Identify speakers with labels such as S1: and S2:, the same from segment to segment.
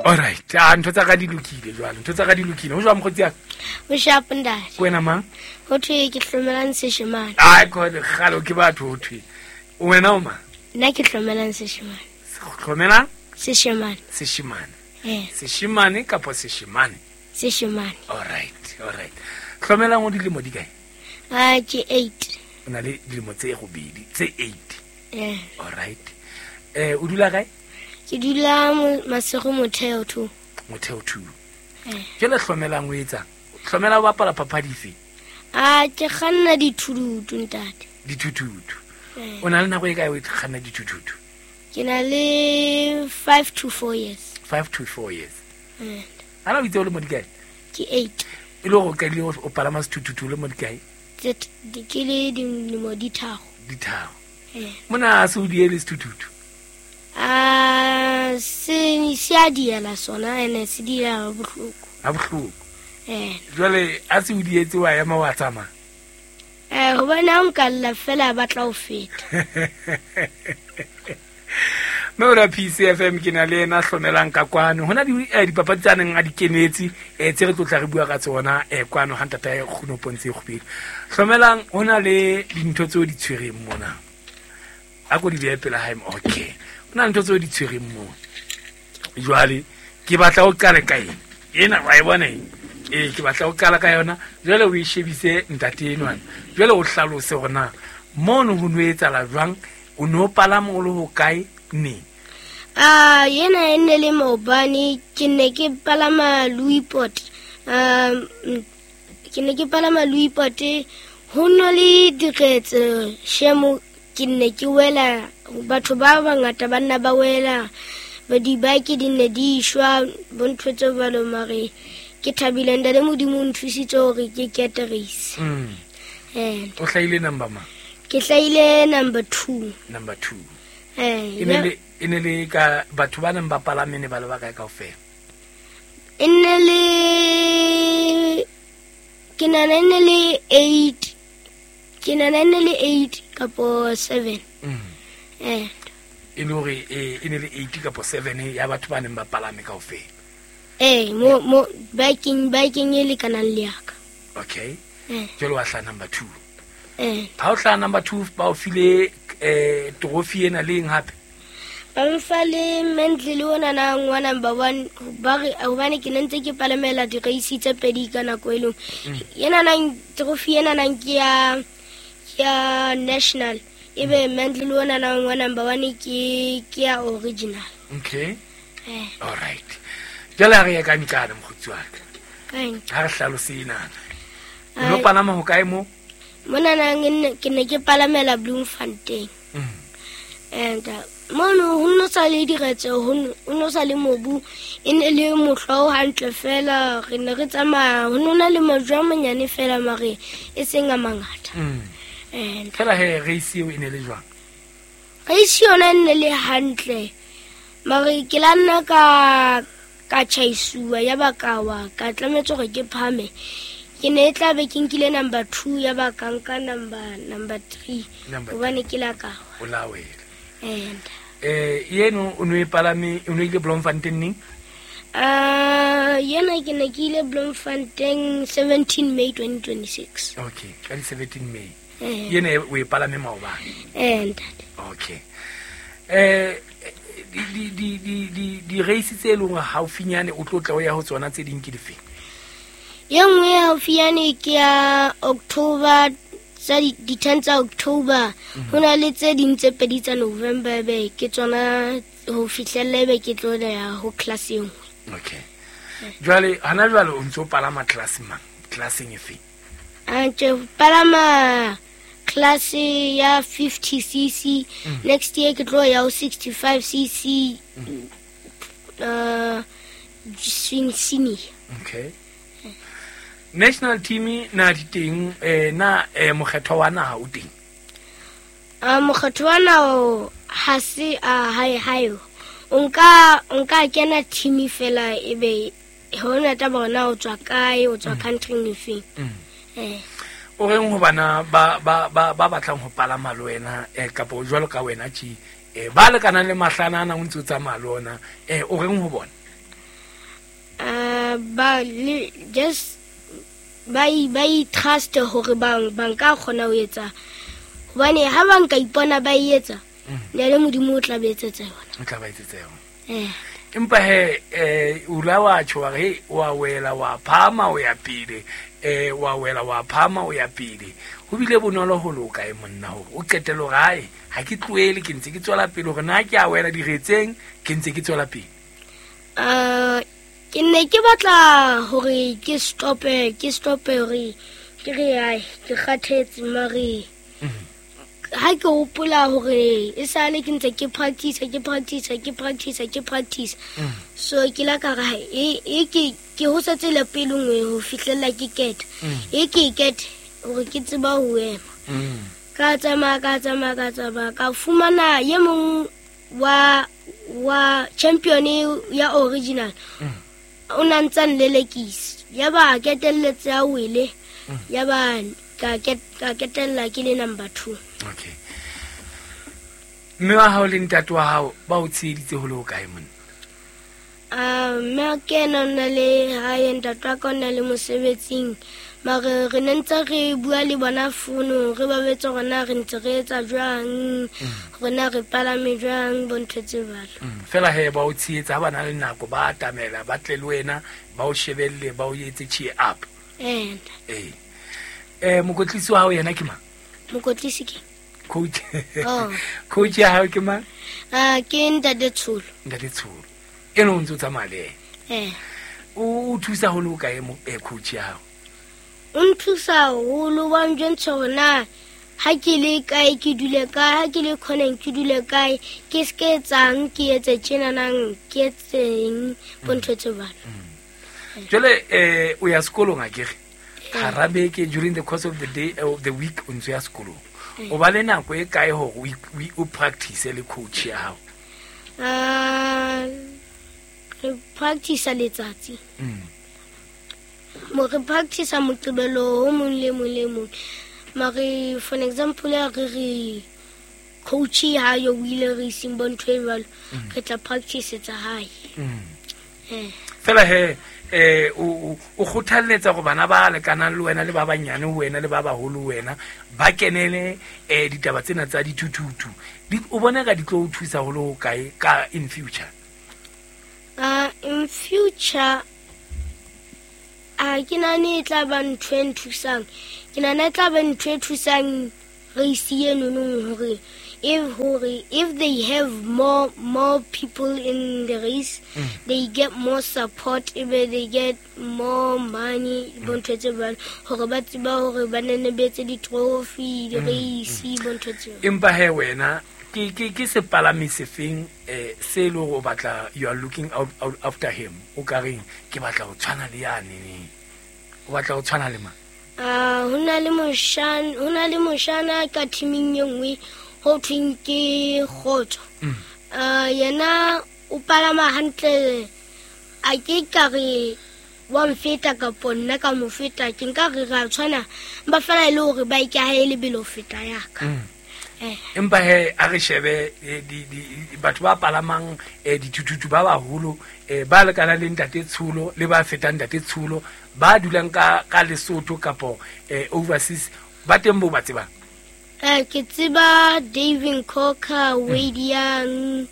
S1: Alright, a ntho tsa ka di lokile jwale, ntho tsa ka di lokile. Ho jwang mokgotsi ya ka?
S2: O sharp ntate.
S1: Ke wena mang?
S2: Ho thwe ke hlomelang seshemane.
S1: Ai kgale kgale ke batho ho thwe. Wena o mang?
S2: Nna ke hlomelang seshemane.
S1: Hlomelang?
S2: Seshemane.
S1: Seshemane.
S2: Eh.
S1: Seshemane kapa seshemane?
S2: Seshemane.
S1: Alright, alright. Hlomelang o dilemo di kae?
S2: A ke 8.
S1: O na le dilemo tse robedi, tse 8.
S2: Eh.
S1: Alright. Eh, o dula kae?
S2: Ke dula Masego Motheo 2.
S1: Motheo 2.
S2: Eh.
S1: Jwale hlomelang o etsang? Hlomela o bapala papadi efe?
S2: A ke kganna dithududu ntate.
S1: Dithuthuthu.
S2: Eh.
S1: O na le nako e kae o kganna dithuthuthu?
S2: Ke na le 5 to 4 years.
S1: 5 to 4 years.
S2: Eh.
S1: Ana o itse o le mo di kae?
S2: Ke 8.
S1: E le gore o qadile o palama sethuthuthu o le mo di kae?
S2: Ke le dilemo di tharo.
S1: Di tharo.
S2: Eh.
S1: Mona a se o diele sethuthuthu?
S2: A se a diela sona ene se diela ha bohloko.
S1: Ha bohloko.
S2: Eh.
S1: Jwale a se o dietse wa ema wa tsamaya?
S2: Eh, hobane ha nka lla fela ba tla o feta.
S1: Mme o la PCFM ke na le ena hlomelang ka kwano. Hona di dipapadi tsa neng a di kenetse tse re tlotla re bua ka tsona kwano ha ntata ya Kguno Pontse e Kgubedi. Hlomelang hona le dintho tseo di tshwereng mona. A ko di behe pela hae. Okay. Hona le ntho tseo di tshwereng mona. Jwale ke batla o qale ka eng? Ena wa e bona eng? Ee, ke batla o qala ka yona. Jwale o e shebise ntate enwana. Jwale o hlalose hore na mono ho no etsahala jwang, o no palama o le hokae neng?
S2: Ah, yena e ne le maobane, ke ne ke palama Louispoort. Ke ne ke palama Louispoort, ho no le diretse shemo, ke ne ke wela, batho ba bangata ba nna ba wela, ba dibike di ne di shwa, bo ntho tse jwalo, mare ke thabile ntate Modimo o nthusitse hore ke kete race. Eh.
S1: O hlahile number mang?
S2: Ke hlahile number 2.
S1: Number 2.
S2: Eh,
S1: E ne le ka batho ba neng ba palame ne ba le ba kae kaofela?
S2: E ne le ke nahana e ne le 8. Ke nahana e ne le 8 kapo 7. Eh.
S1: E le hore e ne le 8 kapo 7 ya batho ba neng ba palame kaofela.
S2: Eh, mo biking e lekanang le ya ka.
S1: Okay.
S2: Eh.
S1: Jwale wa hlaha number 2.
S2: Eh.
S1: Ha o hlaha number 2 ba o file trophy ena le eng hape?
S2: Ba mfa le Mentle le ona na ngwa number 1, ba re hobane ke ne ntse ke palamela di-race tse pedi ka nako e leng. Ena nang trophy ena nang ke ya national. Ebe Mentle le ona na ngwa number 1 ke ya original.
S1: Okay.
S2: Eh.
S1: All right. Jwale ha re ya ka nkana mokgotsi wa ka.
S2: Kae?
S1: Ha re hlalose ena. O lo palama ho kae mo?
S2: Mona nang ke ne ke palamela Bloemfontein. And mono ho no sa le diretse, ho no sa le mobu, e ne le mohlwa o hantle fela, re ne re tsamaya, ho no na le majwe a manyane fela mare e seng a mangata. And
S1: fela he race eo e ne le jwang?
S2: Race yona e ne le hantle. Mare ke la nna ka tjhaisuwa ya ba ka wa, ka tlametse hore ke phame. Ke ne e tla be ke nkile number 2 ya ba ka nka number 3.
S1: Number
S2: Hobane
S1: three.
S2: ke la ka wa.
S1: O la wela.
S2: And
S1: Yeno o no e palame, o no ile Bloemfontein neng?
S2: Yena ke ne ke ile Bloemfontein 17 May 2026.
S1: Okay, ka di 17 May.
S2: Eh.
S1: Yena o e palame maobane.
S2: Eh, ntate.
S1: Okay. Di race tse leng hore haufinyane o tlo tla o ya ho tsona tse ding ke dife?
S2: Ye nngwe ya haufinyane ke ya October, tsa di 10 tsa October. Ho na le tse ding tse pedi tsa November, ebe ke tsona ho fihlella ebe ke tlo ya ho class e nngwe.
S1: Okay. Jwale hana jwale o ntso palama class mang? Classeng efe?
S2: A ntse palama class ya 50 cc. Next year ke tlo ya ho 65 cc. Swing senior.
S1: Okay. National team na di teng, na mokgetho wa naha o teng?
S2: Mokgetho wa naha ha se, hae, hae. O nka kena team fela ebe hona taba hore na o tswa kae, o tswa country efeng. Eh.
S1: O reng ho bana ba batlang ho palama le wena, kapa jwalo ka wena tje, ba lekanang le mahlana ana o ntse o tsamaya le ona, o reng ho bona?
S2: Ba le just ba i trust hore ba nka kgona ho etsa, hobane ha ba nka ipona ba e etsa, ne le Modimo o tla ba etsetsa yona.
S1: O tla ba etsetsa yona. Empa he o la wa tjho wa re wa wela wa phama o ya pele, wa wela wa phama o ya pele. Ho bile bonolo ho loka e monna hore o qetelle hore hae ha ke tlohele, ke ntse ke tswela pele hore na ke a wela diretseng, ke ntse ke tswela pele.
S2: Ke ne ke batla hore ke stope, ke stope hore ke re ai ke kgathetse, mare ha ke hopola hore e sale ke ntse ke practice, ke practice, ke practice, ke practice. So ke la ka re e ke ho setse le pele nngwe ho fihlella ke kete. E ke kete hore ke tseba ho ema. Ka tsamaya, ka tsamaya, ka tsamaya, ka fumana ye mong wa champion ya original. O na ntsa nlelekisa. Ya ba ketelletse a wele. Ya ba ka ketella ke le number 2.
S1: Okay. Mme wa hao le ntate wa hao ba o tsheheditse ho le hokae monna?
S2: Mme ke ena o na le hae, ntate wa ka o na le mosebetsing. Mare re ne ntse re bua le bona founong, re ba botsa hore na re ntse re etsa jwang, hore na re palame jwang, bo ntho tse jwalo.
S1: Fela he ba o tshehetsa ha ba na le nako, ba atamela, ba tle le wena, ba o shebelle, ba o etse cheer up.
S2: Ee.
S1: Mokwetlisi wa hao yena ke mang?
S2: Mokwetlisi ke?
S1: Coach.
S2: Oh.
S1: Coach ya hao ke mang?
S2: Ke Ntate Tsholo.
S1: Ntate Tsholo. Eno o ntse o tsamaya le
S2: ena?
S1: O thusa haholo kae coach ya hao?
S2: O nthusa haholo, wa njwentsha hore na ha ke le kae ke dule kae, ha ke le khoneng ke dule kae, ke se ke etsang, ke etse tjenanang, ke etseng, bo ntho tse jwalo.
S1: Jwale o ya sekolong akere? Hara beke, during the course of the day, of the week, o ntse ya sekolong. O ba le nako e kae hore o practice le coach ya hao?
S2: Re practice letsatsi. Mo re practice Moqebelo o mong le mong le mong. Mare for example ya re coach ha yo o ile re iseng bo ntho e jwalo, re tla practice tsa hae.
S1: Fela he o kgothalletsa hore bana ba lekanang le wena le ba banyane ho wena le ba baholo ho wena ba kenele ditaba tsena tsa dithuthuthu. O bona ka di tlo o thusa ho le ho kae ka in future?
S2: In future ke nahane e tla ba ntho e nthusang. Ke nahana e tla ba ntho e thusang race eno hore if they have more people in the race, they get more support, ebe they get more money, bo ntho tse jwalo, hore ba tseba hore ba nne ba etse di-trophy, di-race, bo ntho tse jwalo.
S1: Empa he wena ke sepalami sefeng se le hore o batla, you are looking out after him, o ka reng ke batla ho tshwana le yane, o batla ho tshwana le mang?
S2: Ho na le moshana ka teaming e nngwe ho thweng ke Kgotso. Yena o palama hantle, a ke ka re wa mfeta kapo nna ka mo feta, ke nka re ra tshwana, ba fela e le hore bike ya hae e lebelo ho feta ya ka.
S1: Empa he a re shebe batho ba palamang dithuthuthu ba baholo, ba lekanang le Ntate Tsholo le ba fetang Ntate Tsholo, ba dulang ka Lesotho kapo overseas, ba teng bo ba tsebang?
S2: Ke tseba Davin Cocker, Wade Young,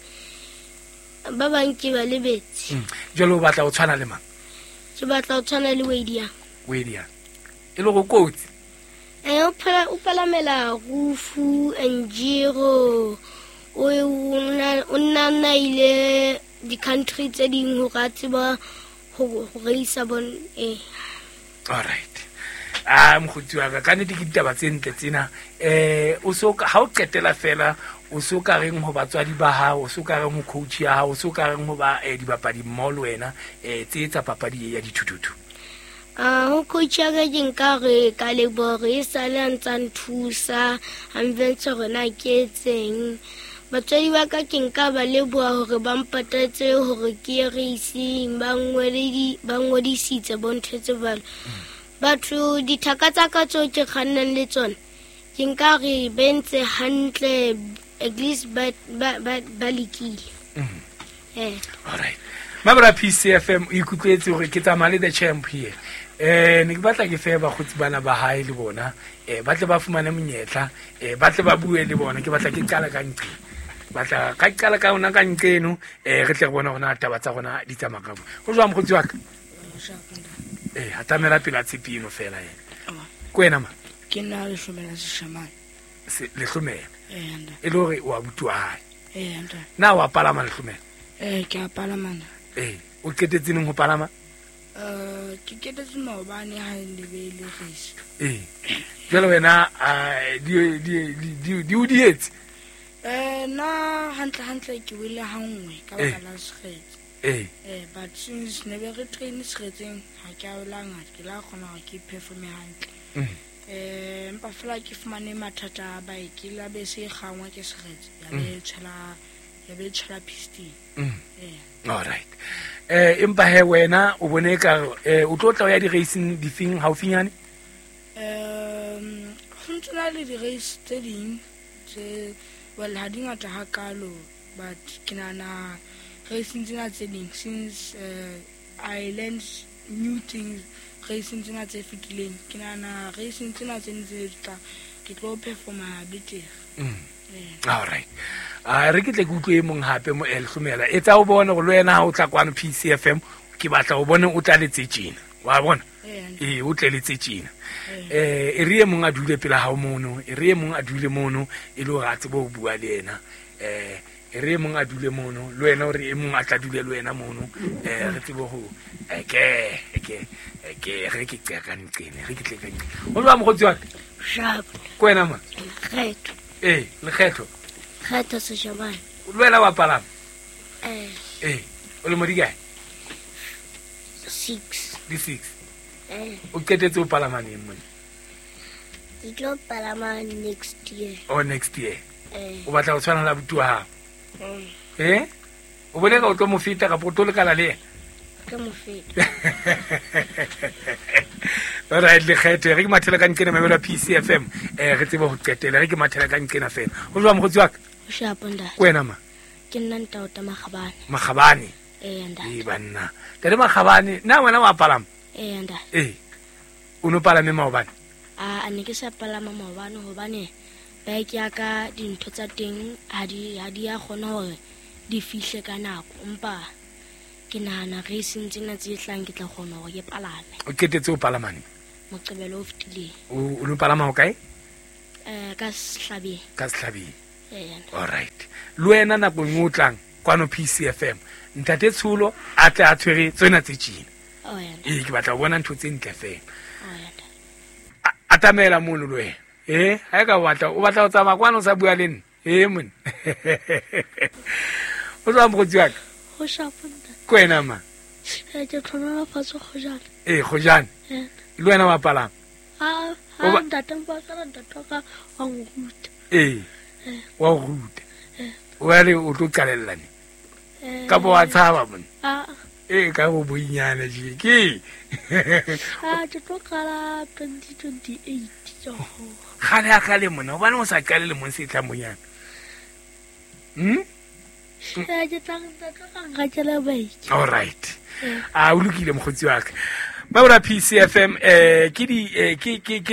S2: ba bang ke ba lebetse.
S1: Jwale o batla ho tshwana le mang?
S2: Ke batla ho tshwana le Wade Young.
S1: Wade Young. E le go kotsi?
S2: O palamela Rufu, Njiro, o nna ile di-country tse ding hore a tseba ho reisa bon.
S1: All right. Mokgotsi wa ka, ka nnete ke ditaba tse ntle tsena. O so ha o qetela fela, o so ka reng ho batswadi ba hao, o so ka reng ho coach ya hao, o so ka reng ho ba dibapadi mmoho le wena, tse tsa papadi ya dithuthuthu?
S2: Ho coach ya ka ke nka re ka leboha hore e sale a ntsa nthusa, a mventsha hore na ke etseng. Batswadi ba ka ke nka ba leboha hore ba mpatetse hore ke ye racing, ba ngodisitse bo ntho tse jwalo. Batho dithaka tsa ka tseo ke kgannang le tsona, ke nka re ba entse hantle, at least ba lekile.
S1: All right. Mabra PCFM o ikutlwetse hore ke tsamaya le the champ here. Ne ke batla ke fe bakgotsi bana ba hae le bona, ba tle ba fumane monyetla, ba tle ba bue le bona. Ke batla ke qala ka nqe. Batla ka qala ka ona ka nqeno, re tle re bone hore na taba tsa rona di tsamaya ka. Ho jwang mokgotsi wa ka? Atamela pela tshepi eno fela yena. Ke wena ma?
S3: Ke nna Lehlomela Seshamane.
S1: Lehlomela. E le hore wa abuti wa hae. Na wa palama Lehlomela?
S3: Ke a palama na.
S1: O qetetse neng ho palama?
S3: Ke qetetse maobane ha ne be le race.
S1: Jwale wena di o dietse?
S3: Nna hantle hantle ke wele ha nngwe ka baka la sekgetse. But since ne be re train sekgetseng ha ke a wela ngata, ke la kgona hore ke performe hantle. Empa fela ke fumane mathata a bike, la be se kgangwa ke sekgetse, ya be tshwela piston.
S1: All right. Empa he wena o bone ka o tlo tla ya di-racing difeng haufinyane?
S3: Ho ntse na le di-race tse ding tse, well, ha di ngata hakalo, but ke nahana racing tsena tse ding, since I learned new things racing tsena tse fetileng, ke nahana racing tsena tse ntse tla ke tlo performa betere.
S1: All right. Re ke tle ke utlwe e mong hape mo Lehlomela. Etsa o bone hore le wena ha o tla kwano PCFM, ke batla o bone o tla letse tjena. Wa bona? O tle letse tjena. E re e mong a dule pela hao mono, e re e mong a dule mono e le hore a tsebe ho bua le yena. E re e mong a dule mono, le wena hore e mong a tla dule le wena mono, re tsebe ho ke re ke qeka nqene, re ke tle ka nqene. O jwang mokgotsi wa ka?
S2: Sharp.
S1: Ke wena ma?
S2: Lekgetho.
S1: Lekgetho.
S2: Kgetho Seshamane.
S1: Le wena wa palama? O lemo di kae?
S2: 6.
S1: Di 6. O qetetse o palama neng mone?
S2: Ke tlo palama next year.
S1: Oh, next year. O batla ho tshwana le abuti wa hao? O bone ka o tlo mo feta kapa o tlo lekana le yena?
S2: Ke mo feta.
S1: All right, Lekgetho, re ke mathela ka nqena mamelo PCFM, re tsebe ho qetela, re ke mathela ka nqena fela. Ho jwang mokgotsi wa ka?
S2: Ho shapa ntate.
S1: Ke wena ma?
S2: Ke nna Ntaota Makgabane.
S1: Makgabane?
S2: Ntate.
S1: Banna. Ntate Makgabane, na wena wa palama?
S2: Ntate.
S1: O no palame maobane?
S2: A ne ke sa palama maobane hobane bike ya ka dintho tsa teng ha di a kgona hore di fihle ka nako, empa ke nahana racing tsena tse tlang ke tla kgona hore ke palame.
S1: O qetetse o palama neng?
S2: Moqebelo o fetileng.
S1: O no palama ho kae?
S2: Ka Sehlabeng.
S1: Ka Sehlabeng. All right. Le wena nakong o tlang kwano PCFM, ntate Tsholo a tle a tshwere tsena tse tjena. Ke batla ho bona ntho tse ntle fela. Atamela mono le wena. Ha e ka o batla ho tsamaya kwano o sa bua le nna. Mone. O jwang mokgotsi wa ka?
S2: Ho shapa ntate.
S1: Ke wena ma?
S2: Ke tlhonolofatso Kgojane.
S1: Kgojane. Le wena wa palama?
S2: Ntate mpa fela ntate wa ka wa nruta.
S1: Wa o ruta. Wale o tlo qalella ne? Kapa wa tshaba mone? Ka go boinyana je ke.
S2: Ke tlo qala 2028.
S1: Kgale a kgale mona, hobane o sa qale lemong se tlang bonyana.
S2: Ke tla nrekela bike.
S1: All right. O lokile mokgotsi wa ka. Mabra PCFM, ke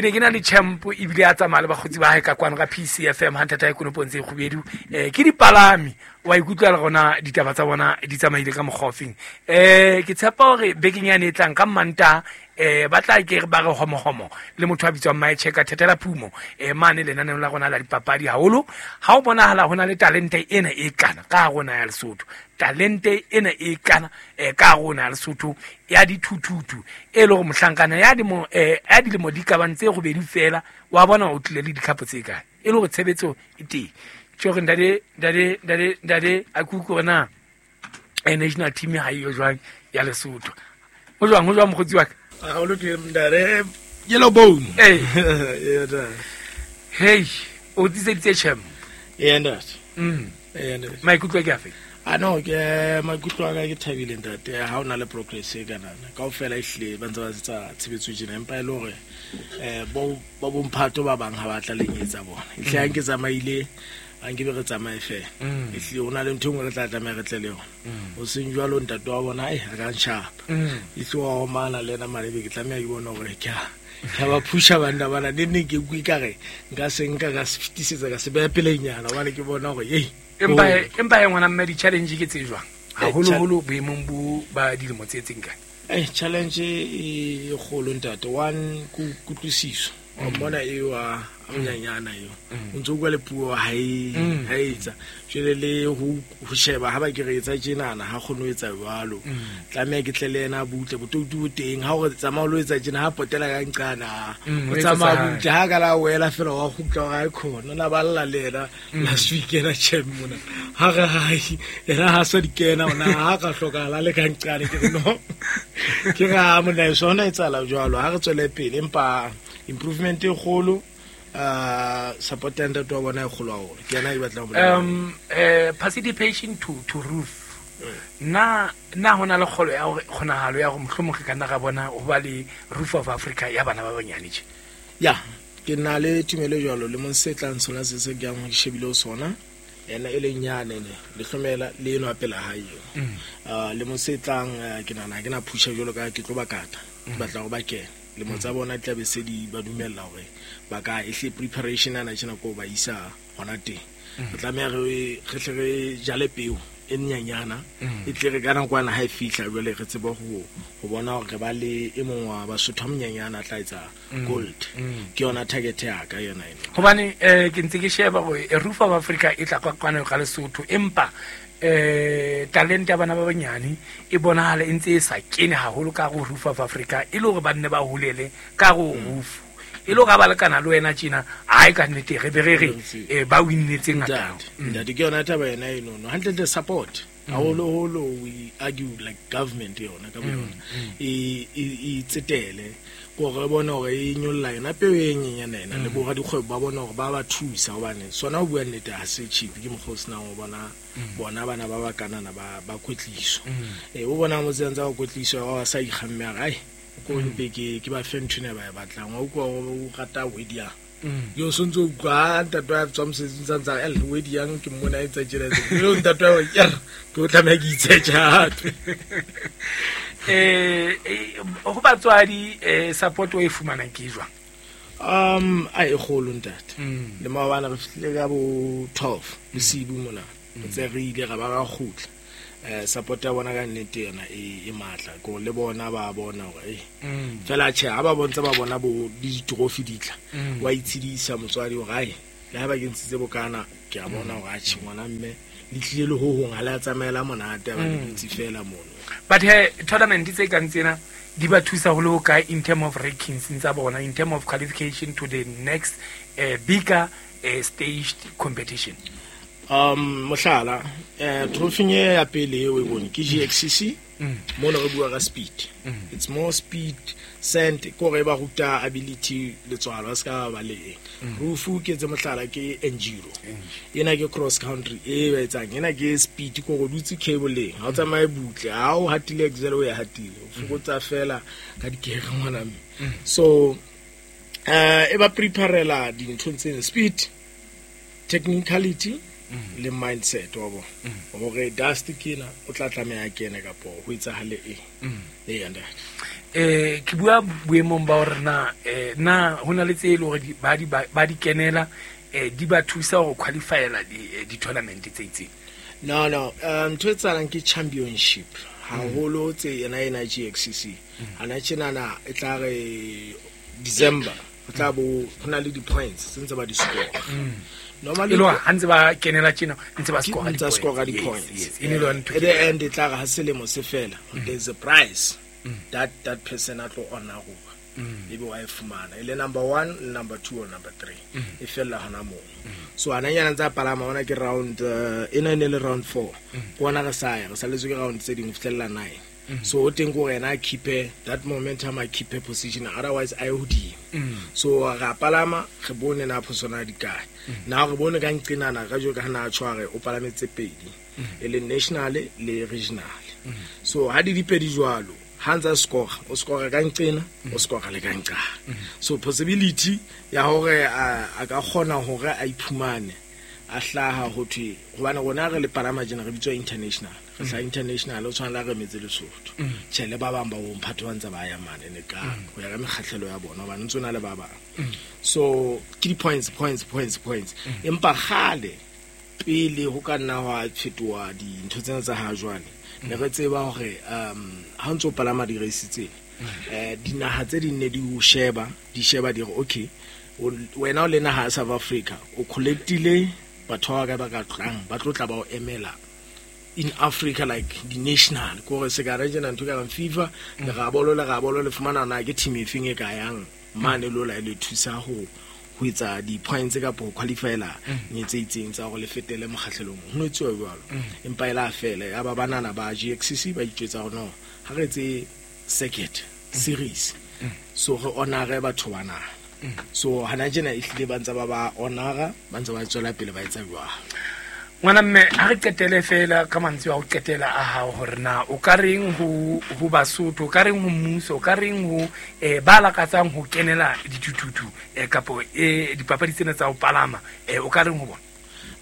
S1: ne ke na le champ ebile a tsamaya le bakgotsi ba hae ka kwano ka PCFM ha ntata e konopong tse kgubedu. Ke dipalami, wa ikutlwa le rona ditaba tsa bona di tsamaile ka mokgwa ofeng. Ke tshepa hore bekeng yane e tlang ka Mantaha, ba tla ke ba re homohomo le motho a bitswang Maecheka Thethela Phumo, mane lenaneong la rona la dipapadi haholo. Ha o bonahala ho na le talente ena e kana ka rona ya Lesotho, talente ena e kana ka rona ya Lesotho ya dithuthuthu, e le hore mohlankana ya dilemo di ka bang tse robedi fela, wa bona o tlile le dikhapo tse kae, e le hore tshebetso e teng. Tjho re ntate a kuku hore na national team ha eyo jwang ya Lesotho. Ho jwang mokgotsi wa ka?
S4: Ha o lokile ntate. Yellow bone.
S1: Hey, o tliseditse champ.
S4: Ntate. Ntate.
S1: Maikutlo ke afe?
S4: No, ke maikutlo a ka ke thabile ntate. Ha o na le progress e kanana. Kaofela ehlile ba ntse ba etsa tshebetso tjena, empa e le hore bo bomphato ba bang ha ba tla lenyetsa bona. Ehlile ha nke tsamaile A nke be re tsamaye fela. Ehlile ho na le ntho e nngwe re tla tlameha re tle le yona. O seng jwalo ntate wa bona a ka nshapa. Ehlile wa omana le yena mane, be ke tlameha ke bone hore ke a ba phusha banna bana. Ne neng ke utlwe ekare nka se nka ka se fetisetsa ka se beha pelenyana, hobane ke bona hore ei.
S1: Empa he ngwana mme, di-challenge ke tse jwang? Haholoholo boemong bo ba dilemo tse tseng kae?
S4: Challenge e kgolo ntate. One, kutlwisiso. Wa mmona eo a monyanyana eo. O ntso bua le puo ha e ha etsa. Jwale le ho sheba ha ba ke re etsa tjenana ha kgone ho etsa jwalo. Tlameha ke tle le yena butle, botoutu bo teng. Ha o re tsamaya o lo etsa tjena, ha potela ka nqana. O tsamaya butle, ha ka la wela fela wa kgutla hore ha e khona. Na ba lla le yena last week ena chem mona. Ha re hai, yena ha sa di kena ona ha ka hlokahala le ka nqane ke re no. Ke re ha mona e sona etsahala jwalo, ha re tswele pele empa improvement e kgolo, support ya ntate wa bona e kgolo haholo. Ke yena e batlang ho bolela.
S1: Participation to roof. Na hona le kgolo ya hore kgonahalo ya hore mohlomong re ka nna ra bona ho ba le Roof of Africa ya bana ba banyane tje?
S4: Ya, ke na le tumelo jwalo le mong se tlang sona se se ke yang ke shebile ho sona. Yena e leng nyane ne le hlomela le eno a pela hae eo. Le mong se tlang ke nahana ha ke na phusha jwalo ka ke tlo ba kata. Ke batla hore ba kene. Lemo tsa bona di tla be se di ba dumella hore ba ka ehle preparation ana tjena ko ba isa hona teng. Re tlameha re hle re jale peo e nyenyana, e tle re ka nakwana ha e fihla jwale re tsebe ho bona hore re ba le e mong wa Basotho a monyenyana a tla etsa gold. Ke yona target ya ka yona eno.
S1: Hobane ke ntse ke sheba hore Roof of Africa e tla kwano ka Lesotho, empa talent ya bana ba banyane e bonahala e ntse e sa kene haholo ka ho Roof of Africa, e le hore ba nne ba holele ka ho roof. E le hore ha ba lekana le wena tjena, ai ka nnete re be re re ba winnetse ngata.
S4: Ntate, ke yona taba yena eno. Hantle support. Haholoholo we argue like government yona ka boyona. E tsetele gore re bone hore e nyolla yona peo e nyenyane ena le bo radikgwebo ba bone hore ba ba thusa, hobane sona ho bua nnete ha se cheap. Ke mokgwa o senang ho bona bona bana ba ba kanana ba kwetliso. O bona motse ntse ba kwetliso ba sa ikgamme a re, ai, ko mpe ke ba fe ntho ena ba e batlang. Wa utlwa o rata wedi yang. Yo sontso utlwa ntate wa tswa mosebetsing sa ntsa el wedi yang ke mmona e tsa tjena. Yo ntate wa ke ke o tlameha ke itshetja hape.
S1: Ho batswadi support o e fumanang ke jwang?
S4: A e kgolo ntate. Le maobane re fihlile ka bo 12 bosibu mona. Ntse re ile ra ba ra kgutla. Support ya bona ka nnete yona e matla. Ko le bona ba bona hore fela tjhe ha ba bontse ba bona bo di-trophy di tla. Wa itshedisa motswadi hore ai le ha ba ke ntshitse bokana ke a bona hore atjhe ngwana mme le tlile le ho hong ha le a tsamaela monate ba le dutse fela mono.
S1: But he tournament tse kang tsena di ba thusa ho le ho kae in term of rankings tsa bona, in term of qualification to the next bigger staged competition?
S4: Mohlala, trophy e ya pele eo e bone ke GXCC. Mona re bua ka speed. It's more speed sent ko re ba ruta ability letswalo a ska ba le eng. Rufu ke tse mohlala ke enduro. Ena ke cross country e ba etsang. Ena ke speed ko go dutse cable-eng. Ha o tsamaye butle, ha o hatile axle o ya hatile. O fokotsa fela ka dikere ngwana mme. So e ba preparela dintho tse speed, technicality le mindset wa bona. Hore dust ke ena o tla tlameha kene kapo ho etsahale eng. Ee, ntate.
S1: Ke bua boemong ba hore na hona le tse e le hore ba di kenela, di ba thusa ho qualifyela di-tournament tse itseng?
S4: No, no. Ntho e tsalang ke championship. Haholo tse yena ena GXCC. Hana tjenana e tla re December ho tla bo ho na le di-points tse ntse ba di score. Normally
S1: E le hore ha ntse ba kenela tjena, ntse ba score
S4: Ntse ba score
S1: di-points.
S4: di-points.
S1: Yes, yes. E ne le yona ntho
S4: At the end e tla re ha selemo se fela, there's a prize that person a tlo honor. Ebe wa e fumana. E le number 1, number 2 or number 3. E fella hona moo. So ana nyana tsa palama ona ke round ena e ne le round 4. Ke ona re sa ya, re salletswe ke round tse ding ho fihlella 9. So o teng ko yena a keep that momentum, a keep position, otherwise a ye hodimo. So ra palama re bone na phosona di kae. Na re bone ka nqinana ka jwe ka na tshware o palametse pedi. E le national le regional. So ha di dipedi jwalo, ha ntsa score, o score ka nqina, o score le ka nqa. So possibility ya hore a ka kgona hore a iphumane A hlaha ho thwe hobane rona re le palama tjena re bitswa international, re hlaha international, o tshwana le ha re metse Lesotho. Tjhe, le ba bang ba bomphato ba ntse ba ya mane ne ka ho ya ka mekgahlelo ya bona, hobane ntse o na le ba bang. So ke di-points, points, points, points. Empa kgale pele ho ka nna hwa fetoha dintho tsena tsa ha jwale, ne re tseba hore ha o ntso palama di-race tsena, dinaha tse ding ne di o sheba, di sheba di re okay, wena o le naha ya South Africa, o collectile batho ba ba ka tlang ba tlo tla ba o emela in Africa, like the national, ko re se ka re tjena ntho ka reng FIFA, le rabolo le fumana na ke team e feng e ka yang mane lo la le thusa ho etsa di-points kapa ho qualifyela ne tse itseng tsa hore le fetele mokgahlelong. Ho no etsuwa jwalo, empa e la fela ya ba banana ba GXCC ba itjwetsa hore no, ha re etse circuit series, so re honore batho bana. So hana tjena ehlile ba ntse ba honora, ba ntse ba tswela pele ba etsa jwalo.
S1: Ngwana mme, ha re qetele fela ka mantswe a ho qetela a hao, hore na o ka reng ho Basotho, o ka reng ho mmuso, o ka reng ho ba lakatsang ho kenela dithuthuthu kapo dipapadi tsena tsa ho palama, o ka reng ho bona?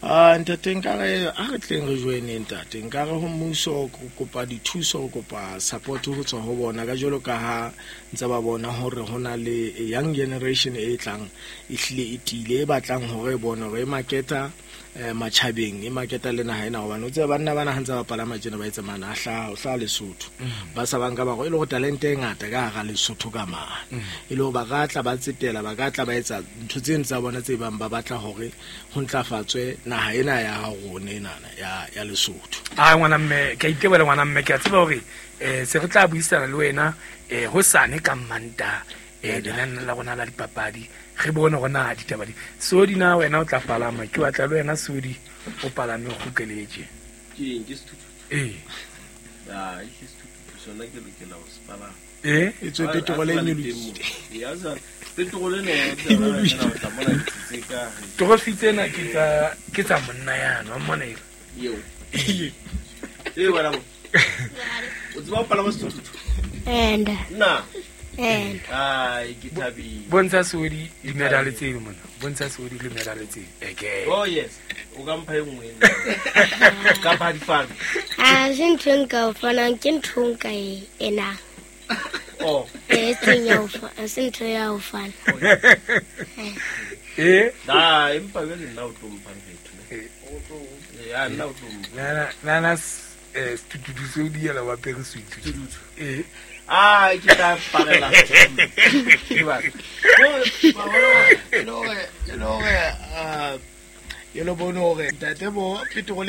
S4: Ah, ntate, nkare a re tleng re joineng, ntate. Nkare ho mmuso, ko kopa dithuso, kopa support ho tswa ho bona, ka jwalo ka ha ntse ba bona hore ho na le a young generation e tlang, e hlile e tiile, e batlang hore e bone hore e marketa matjhabeng, e marketa le naha ena, hobane o tseba banna bana ha ntse ba palama tjena ba etsa mana a hlaha, o hlaha Lesotho, ba sa banka ba go e le go talente e ngata ka hara Lesotho ka mane, e le hore ba ka tla ba tsetela, ba ka tla ba etsa ntho tseno tsa bona tse bang ba batla hore ho ntlafatswe naha ena ya rona enana ya Lesotho.
S1: A ngwana mme, ke a itebohela ngwana mme, ke a tseba hore se re tla buisana le wena hosane ka Mmantaha, lenane la rona la dipapadi, re bone hore na ditaba di Sodi na wena o tla palama, ke batla le wena Sodi o palame o kgutleletse.
S5: Ke eng, ke sethuthuthu?
S1: Ee.
S5: Ai, ke sethuthuthu sona, ke lokela ho se palama.
S4: E tswe petrol e nyolohile.
S5: Ya sa petrol ena ya o tla mona tse ka
S1: Trophy tsena ke tsa monna yana wa mmona eo.
S5: Eo. E wena mo. O tseba ho palama sethuthuthu?
S2: And
S5: Na.
S2: and
S5: Ai, ke thabile.
S1: Bontsha Sodi di-medal tseno mona, bontsha Sodi le medal tseno eke.
S5: Oh yes. O ka mpha e nngwe nna. Kapa ha di fane.
S2: A se ntho e nka o fanang, ke ntho nka e enang.
S5: Oh.
S2: E seng ya ho ha se ntho ya ho fana.
S5: Da, empa jwale nna o tlo mpha ntho. Ya nna o tlo mpha.
S1: Nana sethuthuthu seo di yela wa pere suit.
S5: Sethuthuthu.
S1: Ee.
S5: Ah, ke tla parela. Ke batla.
S4: E le hore e le bone hore ntate bo petrol.